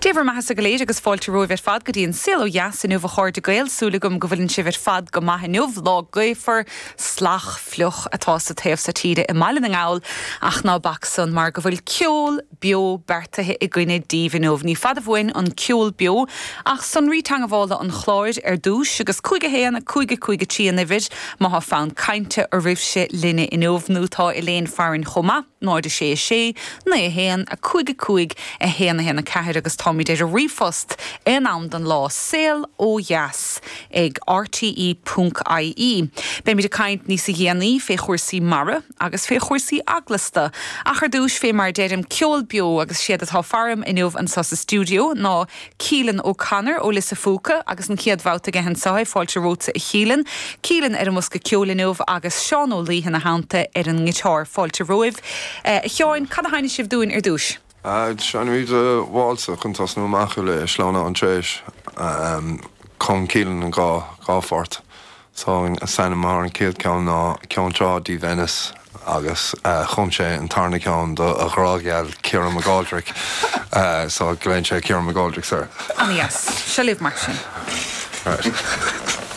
Dé bhur mbeathasa go léir agus fáilte romhaibh ar fad go dtí an Saol Ó Dheas inniu a chairde Gael. Súil agam go bhfuileann sibh ar fad go maith inniu. Lá gaofar, salach, fliuch atá sa taobh so tíre i mBaile na nGall ach ná bac san mar go bhfuil ceol beo beartaithe againne daoibh inniu. Ní fada uainn an ceol beo ach sonraí teagmhála an chláir ar dtús agus 5 1 5 5 3 an uimhir má thá fonn cainte oraibhse linne inniu nó tá Elaine farainn chomh maith. 0 6 6 9 1 5 5 1 1 4 agus táimid ar an ríomhphost aon am den lá, saol ó dheas ag rte ponc ie. Beimid ag caint níosa dhéanaí fé chúrsaí mara agus fé chúrsaí eaglasta ach ar dtúis fé mar a deirim ceol beo agus siad atá faram inniu anso sa stiúideo ná Keelan O'Connor ó Lios a' Phúca agus an chéad bhabhta aige anseo é, fáilte romhatsa a Keelan. Keelan ar an mbosca ceoil inniu agus Seán Ó Laoithe ina theannta ar an ngiotár. Fáilte romhaibh. A Sheáin, cad a sheinnfidh sibh dúinn ar dtúis? Seinnfimid válsa chun tosnú amach le Sleamhnán Tréis. Chum Keelan an dhá pháirt. So an t-ainm ar an chéad ceann ná Ceann Trá dí Venice agus chum sé an tarna ceann do a ghrá gheal Ciara McGoldrick so glaonn sé Ciara McGoldricks air. Ana dheas. Seo libh mar sin. Right.